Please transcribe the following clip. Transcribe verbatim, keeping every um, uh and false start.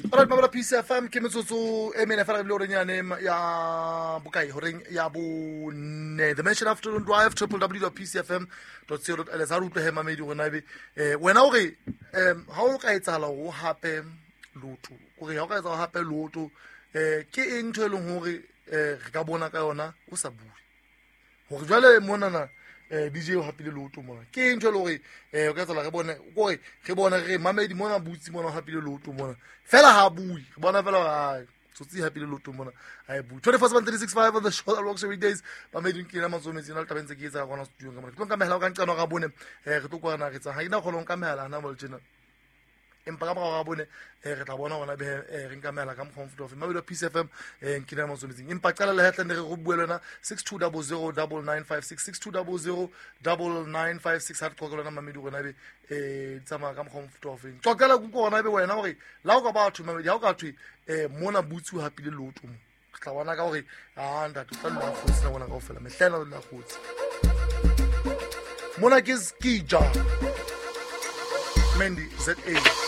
Alright, mamela P C F M ke metsotso e mene fela re bile horeng yane ya bokae, horeng ya bone. The Mansion Afternoon Drive, w w w dot p c f m dot co dot l s. Ha re utlwe he mamedi hore na ebe, eh, wena o re, em, ha o ka etsahala hore o hape lotho, kore ha o ka etsahala hape lotho, eh, ke eng ntho e leng hore, eh, re ka bona ka yona o sa bue? Hore jwale monana, eh, D J o hapile lotho mona. Ke eng ntho e leng hore, eh, o ka etsahala re bone, kore re bone re mamedi mona butsi mona o hapile lotho mona. Fela ha bue, re bona fela hore, ai, tsotsi e hapile lotho mona, ha e bue. twenty-four seven three six five on the show that rocks every days. Mamedi ke ena matsoho metsi, na le taba e ntse ke etsa ka hona studio ka mona. Ke tlo nka mehala ka nqano ga bone, eh, re tlo kwana re tsa. Ha ke na kgona ho nka mehala hana jwale tjena. Empa ka morao ga bone, eh, re tla bona hona be, eh, re nka mehala ka mokgwa o mofuta ofe. Mamedi wa P C F M, eh, nkile ya matsoho metsing. Empa qala le hetlane re go bue le wena, six two double zero double nine five six, six two double zero double nine five six. Ha re qoqele wena mamedi hore na ebe, eh, di tsamaya ka mokgwa o mofuta ofe. Qoqela kuku hona ebe wena hore la o ka batho mamedi, ha o ka thwe, eh, mona butsi o hapile lotho mo. Re tla bona ka hore, ah, ntate, o tla dula a kgotse nako ena kaofela. Mehla ena o dula a kgotse. Mona ke Skija. Mandy Z A.